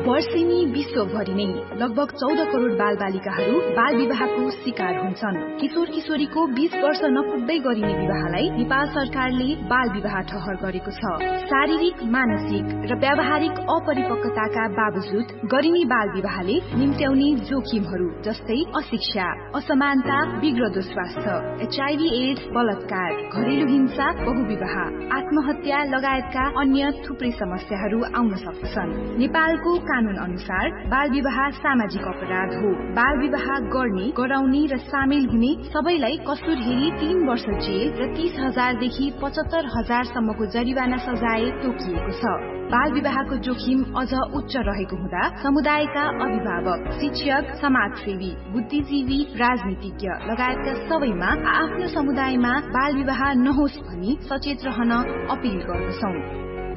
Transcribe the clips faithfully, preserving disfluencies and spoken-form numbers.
वर्षेनी विश्वभरि नै लगभग चौध करोड बालबालिकाहरू बालविवाहको शिकार हुन्छन्। किशोर किशोरीको बीस वर्ष नपुग्दै गरिने विवाहलाई नेपाल सरकारले बालविवाह ठहर गरेको छ। शारीरिक, मानसिक र व्यावहारिक अपरिपक्वताका बावजुद गरिने बालविवाहले निम्त्याउने जोखिमहरू जस्तै अशिक्षा, असमानता, बिग्रदो स्वास्थ्य, एचआइभी एड्स, बलात्कार, घरेलु हिंसा, बहुविवाह, आत्महत्या लगायतका अन्य थुप्रै समस्याहरू आउन सक्दछन्। नेपालको कानुन अनुसार बालविवाह सामाजिक अपराध हो। बालविवाह गर्ने, गराउने र सामेल हुने सबैलाई कसुर हेरी तीन वर्ष जेल र तीस हजार देखि पचहत्तर हजार सम्मको जरिवाना सजाय तोकिएको छ। बालविवाहको जोखिम अझ उच्च रहेको हुँदा समुदायका अभिभावक, शिक्षक, समाजसेवी, बुद्धिजीवी, राजनीतिज्ञ लगायतका सबैमा आआफ्नो समुदायमा बालविवाह नहोस् भनी सचेत रहन अपिल गर्दछौँ।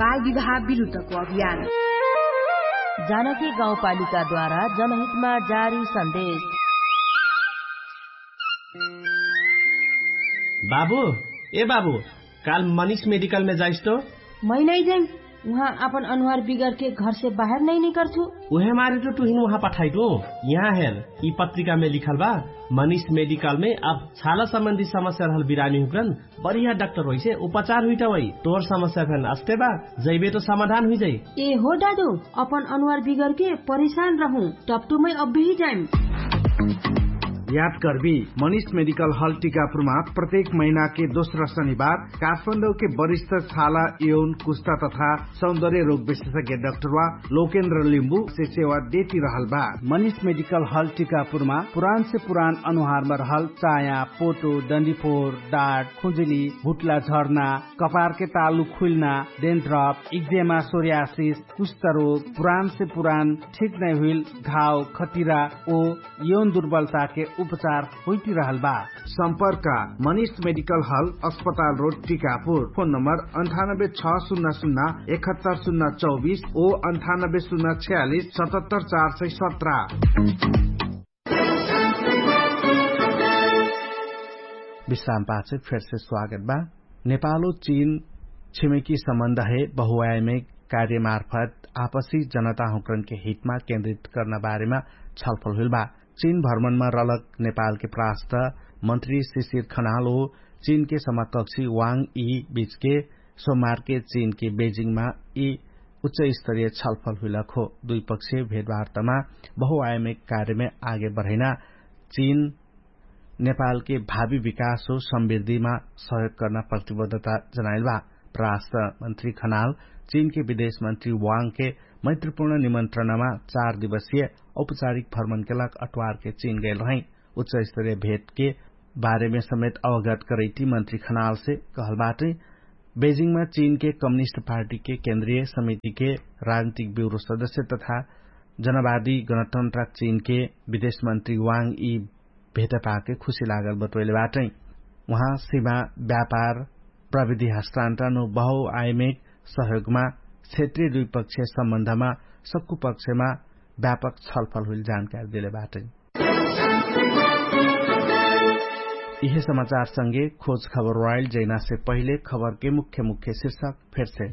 बालविवाह विरुद्धको अभियान। जानकी गाउँपालिकाद्वारा जनहितमा जारी सन्देश। बाबु, ए बाबु, काल मनिष मेडिकलमे जाइस तो? मै नै जैम। उहाँ आपन अनुहार बिगरके घरसे बाहेर नै निकर्छु। उहे मारे तो टुहिन उहाँ पठाइटु। यहाँ हेर, यि पत्रिकामे लिखल बा, मनिष मेडिकलमे अब छाला सम्बन्धी समस्या रहल बिरामी हुक्रन बढिया डाक्टर होइसे उपचार हुइटा होइ। तोर समस्या फेन अस्ते बा, जैबे तो समाधान हुइजाइ। ए हो दादु, अपन अनुहार बिगरके परेशान रहु, टप्टुमै अब्बेही जाइम। याद करबी, मनिष मेडिकल हल टिकापुरमा प्रत्येक महिनाके दोस्रा शनिबार काठमाडौके वरिष्ठ छाला, यौन, कुस्ता तथा सौन्दर्य रोग विशेषज्ञ डाक्टरवा लोकेन्द्र लिम्बु से सेवा देती रहल बा। मनिष मेडिकल हल टिकापुरमा पुरान से पुरान अनुहारमा रहल चाया, पोटो, डन्डीफोर, डाट, खुजुली, भुट्ला झर्ना, कपारके तालु खुइल्ना, डेन्ड्रप, इक्जेमा, सोर्यासिस, कुष्ठरोग, पुरान से पुरान ठिक नै हुइल घाव, खतिरा ओ यौन दुर्बलताके उपचार होइटिरहल बा। सम्पर्क मनिष मेडिकल हल, अस्पताल रोड, टिकापुर। फोन नम्बर अन्ठानब्बे छ सुन्ना सुन्ना एकहत्तर सुन्ना चौबिस ओ अन्ठानब्बे सुन्ना छ्यालिस सतहत्तर चार सय सत्र। विश्राम पाछे फेरसे स्वागत बा। नेपालो चीन छिमेकी सम्बन्ध हे बहुआयमे कार्यमार्फत आपसी जनताहुँकरनके हितमा केन्द्रित कर्ना बारेमा छलफल हुइल बा। चीन भ्रमणमा रलक नेपालके प्रास्त मन्त्री शिशिर खनाल ओ चीनके समाकक्षी वाङ यी बीचके सोमारके चीनके बेजिङमा यी उच्चस्तरीय छलफल हुइलक हो। दुइपक्षीय भेटवार्तामा बहुआयमे कार्यमे आगे बढैना चीन नेपालके भावी विकास हो समृद्धिमा सहयोग कर्ना प्रतिबद्धता जनाइल बा। प्रास्त मन्त्री खनाल चीनके विदेश मन्त्री वाङके मैत्रीपूर्ण निमन्त्रणामा चार दिवसीय औपचारिक भ्रमणके लाग अट्वारके चीन गैल रहै। उच्चस्तरीय भेटके बारेमे समेत अवगत करैती मन्त्री खनालसे कहल बाटै। बेजिङमा चीनके कम्युनिस्ट पार्टीके केन्द्रीय समितिके राजनीतिक ब्युरो सदस्य तथा जनवादी गणतन्त्रक चीनके विदेश मन्त्री वाङ यी भेटपाके खुशी लागल बटोइले बाटै। उहाँ सिमा व्यापार, प्रविधि हस्तान्तरण ओ बहुआयमिक सहयोगमा क्षेत्रीय दुइपक्षीय सम्बन्धमा सक्कु पक्षमा व्यापक छलफल हुइल जानकारी देले बाटै। इहे समाचार संगे खोज खबर वाइल जैनासे पहिले खबरके मुख्य मुख्य शीर्षक फेरसे।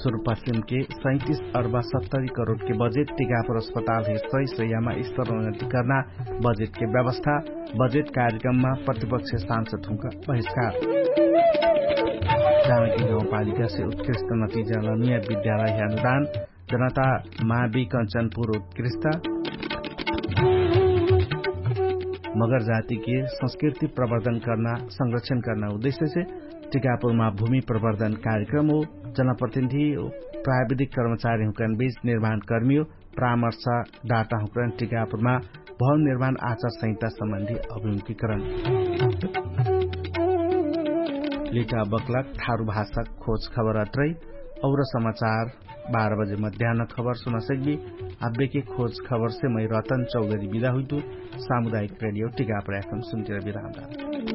सुरुपश्चिमके सैतिस अर्बा सत्तरी करोडके बजेट टिकापुर अस्पतालहे सही सहियामा स्तरोन्नति कर्ना बजेटके व्यवस्था। बजेट कार्यक्रममा प्रतिपक्ष सांसद हुँका बहिष्कार। जानकी गाउँपालिकासे उत्कृष्ट नतिजा लनुया विद्यालयहे अनुदान। जनता मावी कन्चनपुर उत्कृष्ट। मगर जातिके संस्कृति प्रवर्धन कर्ना संरक्षण कर्ना उद्देश्यसे टिकापुरमा भूमि प्रवर्धन कार्यक्रम हो। जनप्रतिनिधि प्राविधिक कर्मचारी हुँकन बीच निर्माणकर्मी हो। परामर्श डाटा हुँकन टिकापुरमा भवन निर्माण आचार संहिता सम्बन्धी अभिमुखीकरण। लिटा बक्लक थारु भाषक खोज खबर अत्रै। और समाचार बाह्र बजे मध्यान्न खबर सुना सक्बी। आब्बेके खोज खबरसे मै रतन चौधरी बिदा हुइतु। सामुदायिक रेडियो टिकापुर एफएम सुन्तिर बिदा हुँदा।